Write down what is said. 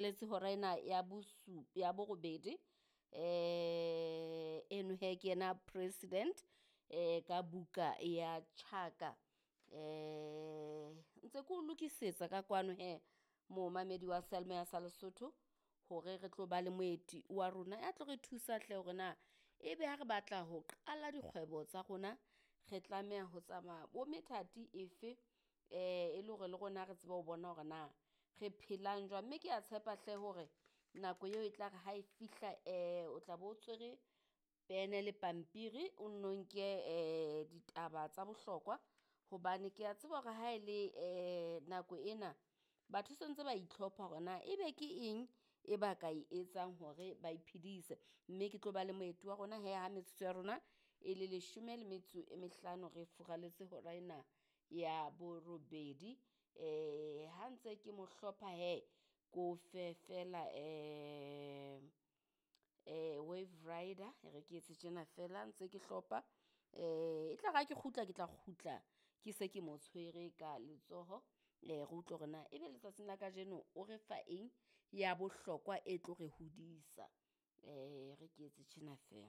Letse hora ena ya ya borobedi. Eno hee ke yena president ka buka ya Tjhaka. Ntse ke o lokisetsa ka kwano hee momamedi wa seyalemoya sa Lesotho hore re tlo ba le moeti wa rona ya tlo re thusa hle hore na ebe ha re batla ho qala dikgwebo tsa rona, re tlameha ho tsamaya bo methati efe e le hore le rona re tsebe ho bona hore na re phelang jwang. Mme kea tshepa hle hore nako eo e tla re ha e fihla o tla be o tshwere pene le pampiri, o nno nke ditaba tsa bohlokwa hobane kea tseba hore ha e le nako ena batho se ntse ba itlhopha hore na ebe ke eng e ba ka e etsang hore ba iphedise. Mme ke tlo ba le moeti wa rona hee ha metsotso ya rona e le leshome le metso e mehlano re furaletse hora ena ya borobedi. Ha ntse ke mo hlopha hee ke o fe feela Wave Rider e re ke etse tjena feela ntse ke hlopha. E tlare ha ke kgutla, ke tla kgutla ke se ke mo tshwere ka letsoho. Re utlwe hore na ebe letsatsing la kajeno o re fa eng ya bohlokwa e tlo re hodisa. E re ke etse tjena feela.